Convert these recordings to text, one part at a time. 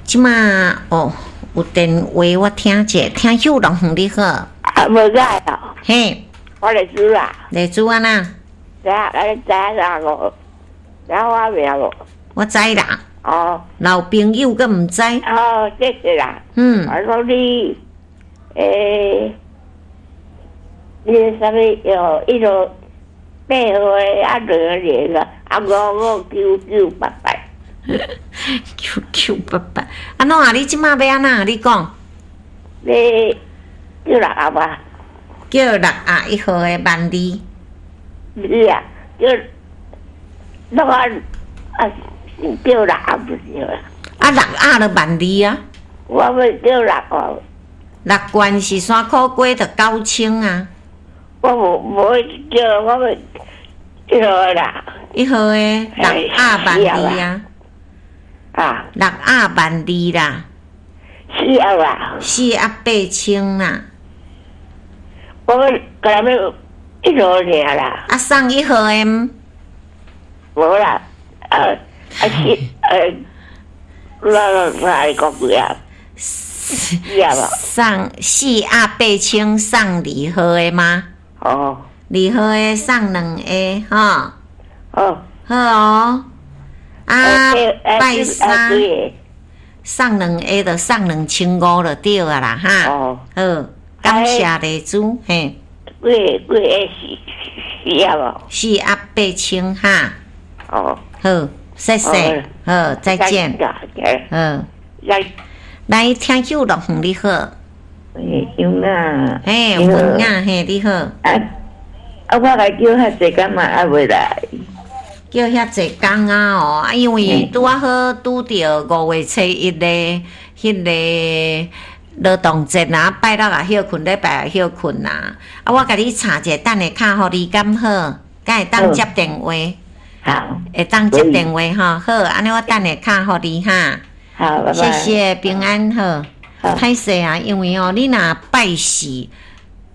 這馬哦，有電話我聽者，聽秀樂園你好。啊，無在哦。嘿。我麗珠啊。麗珠按怎？知影，你知影啥無？知影我名無？我知啦。哦。老朋友閣毋知？哦，謝謝啦。我講你，你啥物哦？一路八號的啊，兩個啊，五五九九八八。九九八八，按怎啊？你這馬欲按怎？你講。你叫六盒啊？叫六盒一號的萬字。毋是啊，叫六盒啊，叫六盒就對啦。啊，六盒就萬字啊。我欲叫六盒。六罐是山苦瓜，就9000啊。我無無叫，我欲一號啦。一號的六盒萬字啊。啊。六盒萬字啦。四盒啊。四盒8000啦。我欲共人欲一號爾啦。啊，送一號的毋？無啦，啊啊是我我來講幾啊？四盒。送四盒八千，送二號的嗎？哦。二號的送兩個，吼。哦。好哦。啊，拜三送兩個就送2500就對啊啦，哈。哦。好，感謝麗珠，嘿。幾個幾個四四盒無？四盒八千哈。哦。好，謝謝，好，再見。好。來，聽秀樂園你好。喂，英啊。嘿，文啊，嘿，你好。啊啊！我來叫遐濟工嘛，猶未來。叫遐濟工啊哦，啊，因為拄仔好拄著5月初1的彼个勞動節啊，拜六也歇睏，禮拜也歇睏啊。啊，我共你查者，等下敲予你敢好？敢會當接電話？好。會當接電話吼，好，按呢我等下敲予你哈。好，拜拜。謝謝，平安好。歹勢啊，因為哦，你若拜四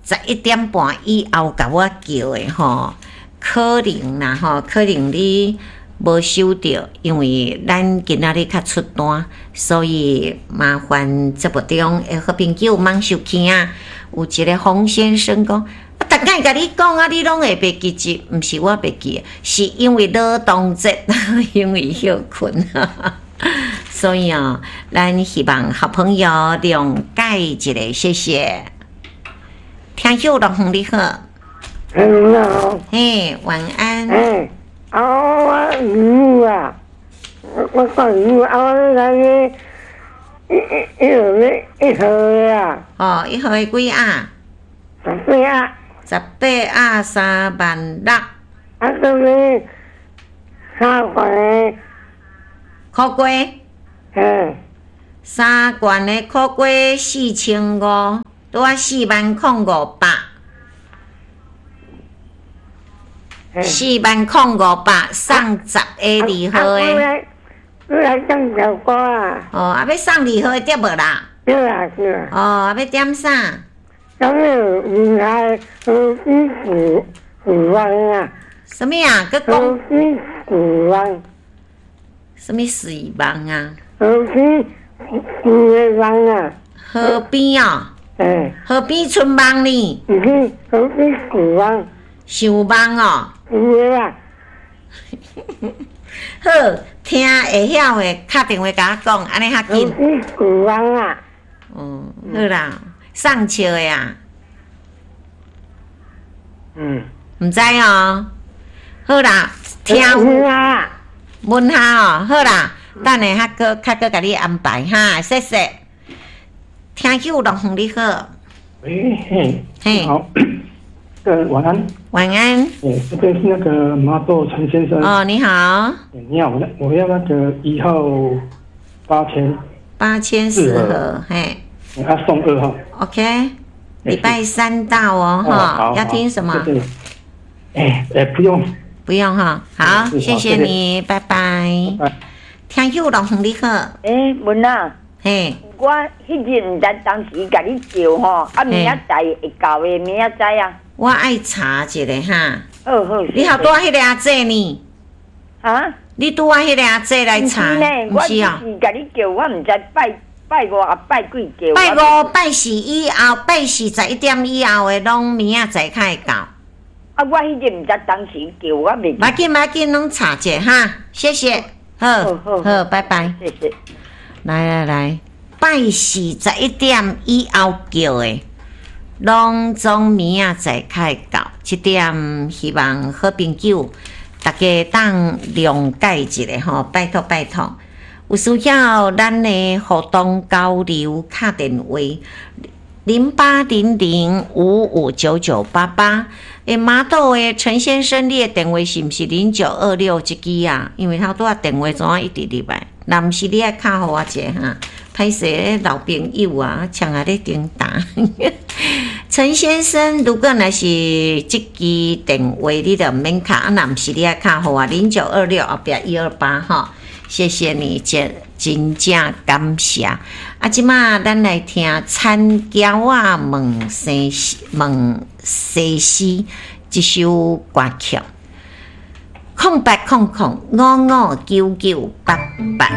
11點半以後共我叫的吼，可能啦吼，可能你無收著，因為咱今仔日較出單，所以麻煩節目中的好朋友茫收聽啊。有一個洪先生講，啊，逐擺共你講啊，你攏會袂記得，毋是我袂記，是因為勞動節，因為歇睏。所以哦，咱希望好朋友諒解一下，謝謝。聽秀樂園你好。你好。嘿，晚安。欸，啊，我魚啊，我講魚啊，我來一一一一號的啊。哦，一號的幾盒？十八盒。18盒3萬6。啊，這個三罐的。苦瓜。嗯。三罐的苦瓜4500，拄仔4萬零500。4萬零500送十个二號的。你來送小瓜啊？哦，啊，欲送二號的對無啦？對啊，對啊。哦，啊，欲點啥？啥物唔係河邊古古灣啊？啥物啊？閣講。河邊古灣。啥物水網啊？河邊古灣啊？河邊哦。欸。河邊春網呢？毋是河邊古灣。想網哦。有啊。好，聽會曉的，敲電話共我講，按呢較緊。古灣啊。嗯，好啦，送笑的啊。嗯。毋知哦。好啦，聽。問下哦，好啦，等下較閣較閣共你安排哈，謝謝。聽友樂園你好。喂，嘿，嘿，好，晚安。晚安。欸，這邊是那個麻豆陳先生。哦，你好。你好，我要那個1號8000。 8000四盒，嘿。他送2號。 OK，禮拜三到哦，哈，要聽什麼？欸欸，不用。不用哈，好，謝謝你，拜拜。聽友樂園你好。欸，文啊。嘿。我彼日毋知當時共你叫吼，啊明仔載會到的，明仔載啊。我愛查一下哈。好好。你好，拄彼个阿姐呢？哈？你拄仔彼个阿姐來查，毋是呢，我只毋是哦。是共你叫，我毋知拜拜五啊，拜幾叫。拜五拜四以後，拜四11點以後的，攏明仔載較會到。啊，我彼日毋知當時叫，我袂無要緊，無要緊，攏查者哈，謝謝，好，好。好，拜拜。謝謝。來來來，拜四十一點以後叫的，攏總明仔載較會到。這點希望好朋友大家當諒解一下吼，拜託拜託。有需要咱的互動交流敲電話0800559988。欸，麻豆的陳先生，你的電話是毋是0926這支啊？因為頭拄仔電話怎啊一直入來？若毋是你愛敲予我一下哈，歹勢老朋友啊，搶來咧頂打。陳先生，如果若是這支電話，你就毋免敲；啊，若毋是你愛敲予我0926後壁128吼。謝謝你，真真正感謝。啊，這馬咱來聽田嬌仔問西問西施這首歌曲。0800559988。